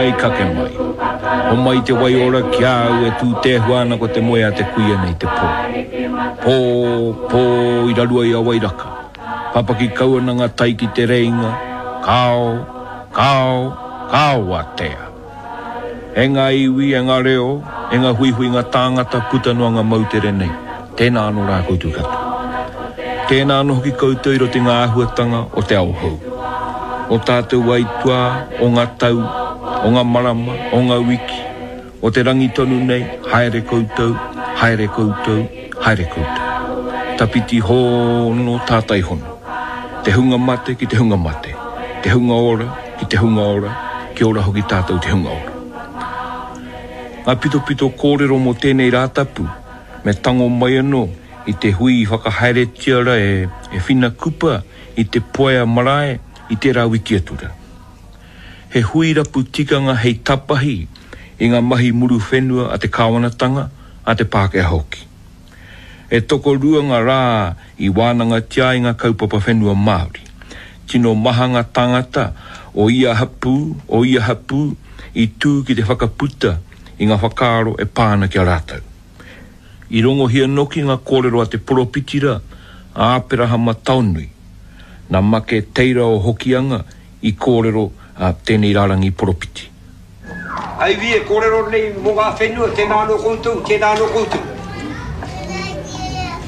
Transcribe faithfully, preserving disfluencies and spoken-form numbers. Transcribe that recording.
Mai kake mai. Homai te waiora ki a au e tūtēhua ana ko te moe a te kuia nei te pō. Pō, pō i rarua i a Wairaka. Papaki kau ana ngā tai ki te reinga, kao, kao, kao atea. E ngā iwi, e ngā reo, e ngā huihuinga tāngata puta noa ngā moutere nei, tēnā anō rā koutou katoa. Tēnā anō hoki koutou i roto i ngā āhuatanga o te ao hou. O tātou aituā, o ngā tau, o ngā marama, o ngā wiki, o te rangi tonu nei, haere koutou, haere koutou, haere koutou. Tapiti hono, tātai hono. Te hunga mate ki te hunga mate, te hunga ora ki te hunga ora, kia ora hoki tātou te hunga ora. Ngā pitopito kōrero mō tēnei Rātapu me tango mai anō i te hui i whakahaeretia ra e, e Whina Kupa i te Poea marae i tērā wiki atu rā. He hui rapu tikanga hei tapahi i ngā mahi muru whenua a te kāwanatanga, a te Pākehā hoki. E tokorua ngā rā i wānangatia ai ngā kaupapa whenua Māori. Tino maha ngā tāngata o ia hapū, o ia hapū i tū ki te whakaputa i ngā whakaaro e pā ana ki a rātou. I rongohia noki ngā kōrero a te poropiti rā, a Aperahama Taonui. Nā Make Teira o Hokianga i kōrero tēnei rārangi poropiti. Ai wi e kōrero nei mō ngā whenua, tēnā anō koutou, tēnā anō koutou.